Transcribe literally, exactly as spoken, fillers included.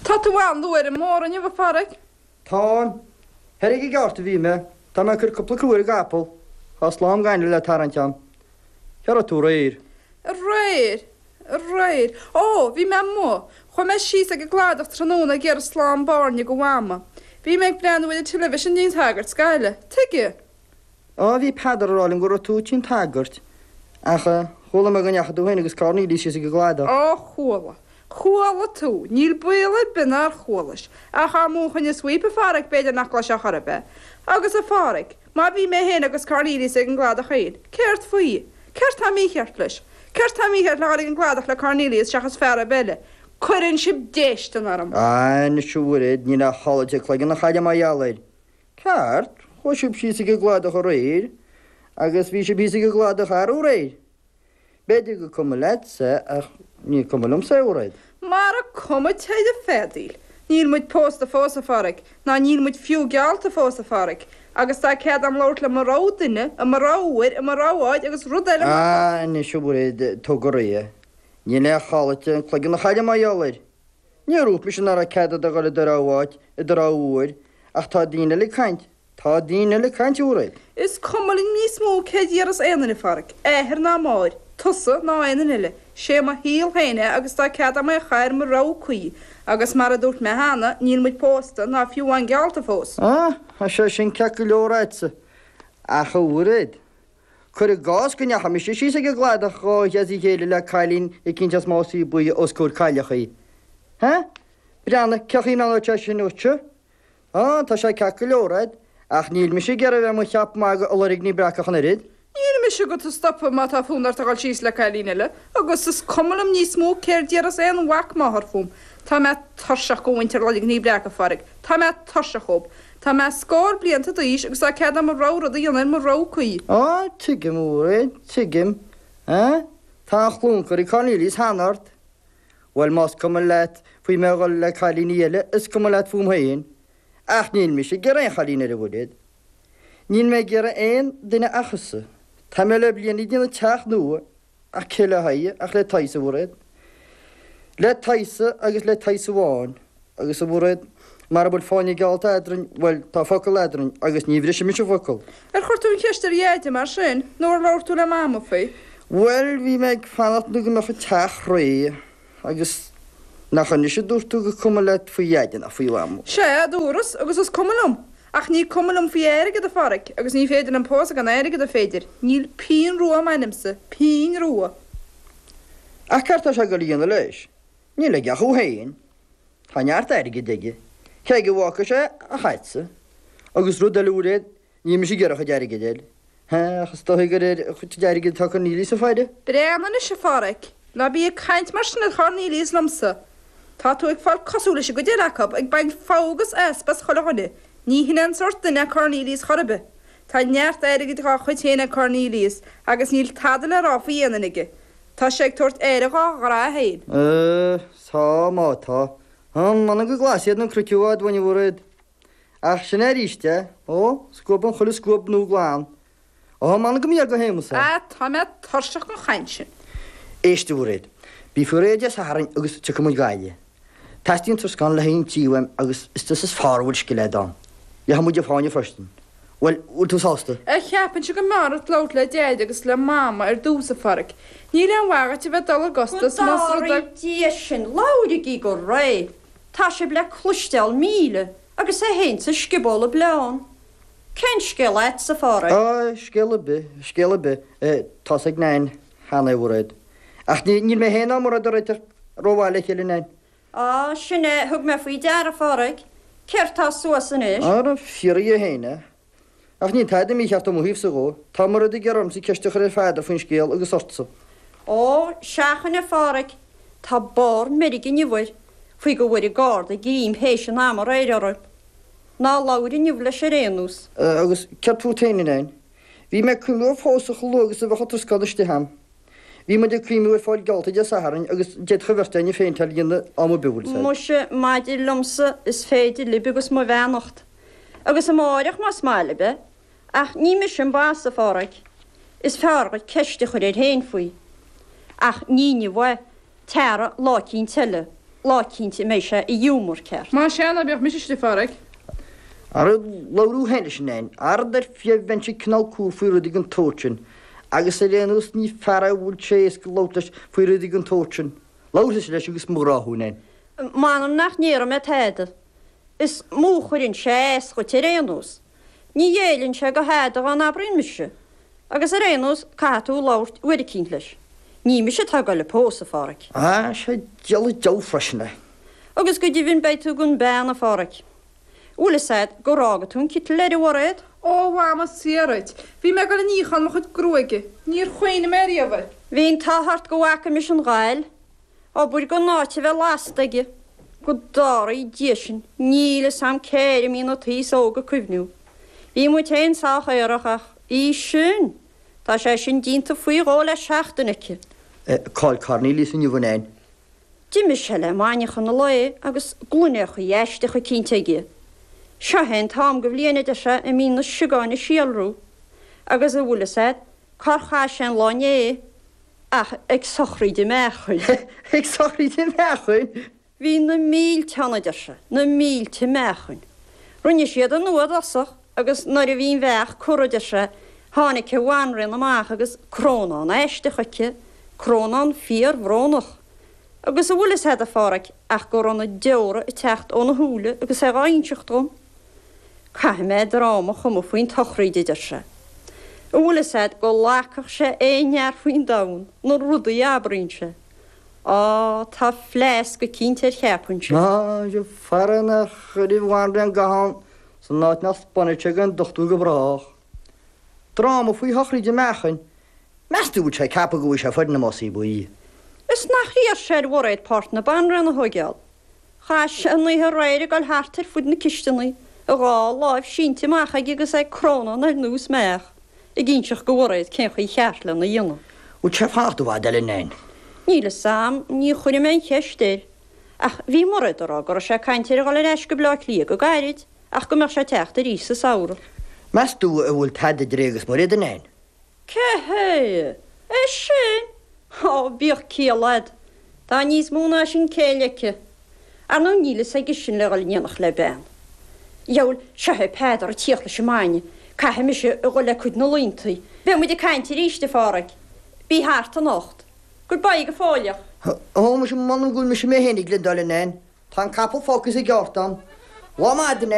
Tá tú an-luath ar an mbóthar inniu, a Phádraig. Táim. Thoir ag an gceárta a bhí mé. Tá mé ag cur cúpla crú ar an gcapall. Tá slám gainimh le tarraingt a'm. Cá raibh tú aréir? Aréir? Aréir? Ó, bhí mé amuigh. Chuaigh mé síos ag an gcladach tráthnóna ag iarraidh slám bairnigh do Mhama. Bhí mé ag breathnú ar an television dtí'n tsagart sa Ghaillimh. Tuige? Á, bhí Peadar ag rá liom go raibh tú tí'n tsagairt. Ach chuala mé go ndeachaigh tú féin agus Cornelius síos ag an gcladach. Á, chuala. Chuala tú. Níl baol ar bith nár chualais. Ach dá múchfainn an sweep, a Phádraig, b'fhéidir nach gcloisfeá chor ar bith. Agus, a Phádraig, má bhí mé féin agus Cornelius ag an gcladach féin, céard faoi? Céard tá mícheart leis? Céard tá mícheart le dhul ag an gcladach le Cornelius seachas fear ar bith eile? Cuireann sibh déistin orm. Á, anois a Mhairéad, níl ach chodladh cloigeann an chaile mar gheall air. Ceart, chuaigh sibh síos ag an gcladach aréir, agus bhí sibh thíos ag an gcladach arú aréir. B'fhéidir gur cuma leatsa, ach ní cuma liomsa é, a Mhairéad. Mara cuma téigh ag feadaíl. Níl muid pósta fós, a Phádraig, ná níl muid fiú geallta fós, a Phádraig, agus tá cead a'm labhairt le mo rogha duine, i mo rogha uair, i mo rogha áit agus rud eile mar. Á, anois, a Mhairéad, tóg go réidh é. Níl aon chodladh an cloigeann an chaile mar gheall air. Níor dhúirt mise nach raibh cead a'd a dhul i do rogha áit, i do rogha uair, ach tá daoine eile ag caint, tá daoine eile ag caint, a Mhairéad. Is cuma liom níos mó cé déarfas aon duine, a Phádraig, athair ná máthair, tusa ná aon duine eile. Sé mo shaol féin é agus tá cead a'm é a chaitheamh ar mo rogha cuí, agus mar a dúirt mé cheana, níl muid pósta ná fiú amháin geallta fós. Á, tá sé sin ceart go leor a'dsa, ach a Mhairéad, Cuir i gcás go ndeachaigh mise síos ag an gcladach dhá oíche as a chéile le cailín eicínt as Másaí Buí os comhair cailleachaí. Hé? Breathnaigh, cén chaoi a mbreathnódh sé sin ort-se? Á, tá sé ceart go leor a'd, ach níl mise ag iarraidh a bheith i mo cheap magaidh i Loirgní Breacach an oiread. Níl mise agat a stopadh má tá fonn ort a dhul síos le cailín eile, agus is cuma liom níos mó céard déarfas aon mhac máthar fúm. Tá mé tuirseach go mhuintir Loirgní Breaca, a Phádraig. Tá mé tuirseach dhób. Tá mé scór blianta d'aois agus tá cead a'm mo rogha rud a dhéanamh ar mo rogha cuí. Á, tuigim, a Mhairéad, tuigim. Á, tá an chlúmchur ag Cornelius cheana ort. Bhuel, más cuma leat faoi mé a dhul le cailíní eile, is cuma leat fúm féin. Ach níl mise ag iarraidh aon chailín eile, a Mhairéad. Níl mé ag iarraidh aon duine ach thusa. Tá mé le bliain ag déanamh teach nua, ach cé le haghaidh ach le t'aghaidhse, a Mhairéad. Le t'aghaidhse agus le t'aghaidhse amháin. Agus, a Mhairéad, mara bhfuil fáinne geallta eadrainn, bhuel, tá focal eadrainn agus ní bhrisfidh mise focal. Ar chuir tú an cheist ar Dheaide mar sin, nó ar labhair tú le Mama faoi? Bhuel, bhí mé ag fanacht nó go mbeadh an teach réidh, agus nach anois a dúirt tú gur cuma leat faoi Dheaide ná faoi Mhama? Sea, a dúras, agus is cuma liom. Ach ní cuma liom faoi airgead, a Pháraic, agus ní féidir liom pósadh gan airgead, an féidir? Níl pingin rua i m'ainmse, pingin rua. Ach céard tá sé ag dul a dhéanamh leis? Níl aige ach thú féin. Tá neart airgid aige. Cé aige a bhfágfaidh sé ach a'dsa. Agus rud eile a Mhairéad, níl mise ag iarraidh a chuid airgid a fháil. Ach is dóigh gur ar a chuid airgid atá Cornelius ag faire. Breathnaigh anois, a Pháraic. Ná bí ag caint mar sin ar Chornelius liomsa. Tá tú ag fáil cosúil leis an gcuid eile acu, ag baint fogha agus easpa as chuile dhuine. Ní hin é an sórt duine é Cornelius chor ar bith. Tá neart airgid dhá chuid féin ag Cornelius agus níl tada le rá faoi aon duine aige. Tá sé ag tabhairt aire dhá ghrá féin. Tá, má tá. M'anam go glas iad na cnoic i bhfad uainn, a Mhairéad. Ach sin é arís é. Ó, scuabann chuile scuab nua glan. Ó, m'anam go mb'fhíor do Shéamus é. Á, tá mé tuirseach den chaint sin. Éist, a Mhairéad. Bí faoi réir Dé Sathairn agus tiocfaidh muid Gaillimh. Teastaíonn troscán le haghaidh an tí uaim agus is tusa is fearr a bhfuil scil a'd ann. Gheobhaidh muid an fáinne freisin. Bhuel, bhfuil tú sásta? Ar cheapainnse go mb'fhearr duit labhairt le Deaide agus le Mama ar dtús, a Pháraic. Níl aon mhaith dhuit a bheith ag dul i gcostas Go más rud é. dtarraí Dia sinn, labhraigí go réidh! Tá sibh le cloisteáil míle agus é féin sa scioból ag bleán. Cén scéal a'dsa, a Pháraic? Á, scéal ar bith, scéal ar bith. Tá's ag Nain cheana é, a Mhairéad. Ach níl mé féin ná Mairéad ag réiteach rómhaith le chéile, Nain. Á, sin é, thug mé faoi deara, a Pháraic. Céard tá suas anois? Ara, fiafraigh dhe féin é. Ach níl tada mícheart ó mo thaobhsa dhó. Tá Mairéad ag iarraidh ormsa ceist a chur ar Pheadar faoin scéal agus ortsa. Ó, seachain, a Pháraic. Tá barr meirge inniu air, faoi go bhfuair an Garda greim théis an ama aréir orthu. Ná labhair inniu leis ar aon nós. Agus céard fút féin, a Nain? Bhí mé ag cuimhniú ar phósadh chomh luath agus a bheadh an troscán istigh a'm. Bhí muid ag cuimhniú ar fáil geallta Dé Sathairn agus d'fhéadfadh an bheirt againne péinteáil a dhéanamh am ar bith, bhfuil 'fhios a'd. Muise, maidir liomsa, is féidir libh agus mo bheannacht. Agus amáireach más maith libh é. Ach ní mise an boss, a Pháraic. Is fearr dhuit ceist a chur air féin faoi. Ach ní inniu é, tabhair lá eicínt eile, lá eicínt a mbeidh sé i ngiúmar ceart. Más ea, ná bíodh mise istigh, a Pháraic. Ara labhair thú féin leis, a Nain, arad ar fiú bheinnse cineál cúl faoi rudaí den tsórt sin, agus ar aon nós ní fear é a bhfuil sé éasca labhairt leis faoi rudaí den tsórt sin. Labhair tusa leis agus mo ghrá thú, a Nain. M'anam nach ndéarfaidh mé tada. Is mó a chuireann sé as dhuit ar aon nós. Ní ghéilleann sé do thada dhá n-abraíonn mise. Agus ar aon nós, caithfidh tú labhairt uair eicínt leis. Ní mise atá ag goil a pósadh, a Pháraic. Á, sé diabhal an deabhadh freisin é. Agus go deimhin beidh tú gan bean, a Pháraic. Bhfuil fhios a'd gur fhága tú an citeal air, a Mhairéad? Ó, a Mhama, saor dhuit. Bhí mé ag goil a níochán mo chuid gruaige. Níor chuimhnigh mé riamh air. Bhí an t-ádh ort go bhfaca mise an ghal. Abair gan áit a bheith lasta aige. Go dtarraí Dia sinn, níl fhios a'm cé air a mbíonn an t-aos óg ag cuimhniú. Bhí muid féin sách aerach ach í sin! Tá sé sin déanta faoi dhó le seachtain aici. Cá'il Cornelius inniu, a Nain? D'imigh sé le maidneachan an lae agus gloineachaí aisteacha eicínt aige. Seo é an t-am go bhliain, a deir sé, a mbíonn na siogáin ag síolrú. Agus an bhfuil fhios a'd cár chaith sé an lá inné ach ag sochraíd an mheáchain. Ag sochraíd an mheáchain? Bhí na mílte ann, a deir sé, na mílte meáchain. Rinne siad an fhuath i dtosach agus nuair a bhí an bheach curtha, a deir sé, tháinig an bhanríon amach agus crónán aisteach aici, crónán fíorbhrónach. Agus an bhfuil fhios a'd, a Pháraic, ach go raibh na deora ag teacht óna shúile agus é dhá inseacht dhom. Caithfidh mé dráma a chumadh faoin tsochraíd, a deir sé. An bhfuil fhios a'd go bhfágfadh sé aon fhear faoin domhan, na rudaí a abraíonn sé. Á, tá fleasc eicínt air cheapfainnse. Á, sea, fara nár chuir an bhanríon ga ann san áit nach 'spáinfidh sé don dochtúir go brách. Dráma faoi shochraíd an mheáchain. Meas tú an bhfuil sé ag ceapadh go bhfaighidh sé foireann na másaí buí? Is nach iarr sé ar Mhairéad páirt na banríona a thóigeáil. Chaith sé an oíche aréir ag dul thart ar fud na cisteanaí, a dhá láimh sínte amach aige agus é ag crónán ar nós mbeach, ag inseacht go Mhairéad cén chaoi cheart lena dhéanamh. Bhfuil sé ag fanacht i bhfad eile, a Nain? Níl fhios a'm, ní chuirfidh mé an cheist air. Ach bhí Mairéad ag rá go raibh sé ag caint ar a dhul ar ais go Bleá Cliath go gairid, ach go mbeadh sé ag teacht arís sa samhradh. Meas tú an bhfuil tada idir é agus Mairéad, a Nain? Cé hé? É sin? Ó, bíodh ciall a'd. Tá níos mó ná sin céille aici. Ar ndóigh níl fhios aige sin le dhul in éineacht le bean. Dheabhail, seo é Peadar ag tíocht leis an mbainne. Caithfidh mise a dhul le cuid na laontaí. Beidh muid ag caint arís, a Pháraic. Bí thart anocht. Goodbye go fóilleach. Ó, muise, m'anam go bhfuil mise mé féin ag gliondáil, a Nain. Tá an capall fágtha sa gceárta a'm. Lá maith, a Nain.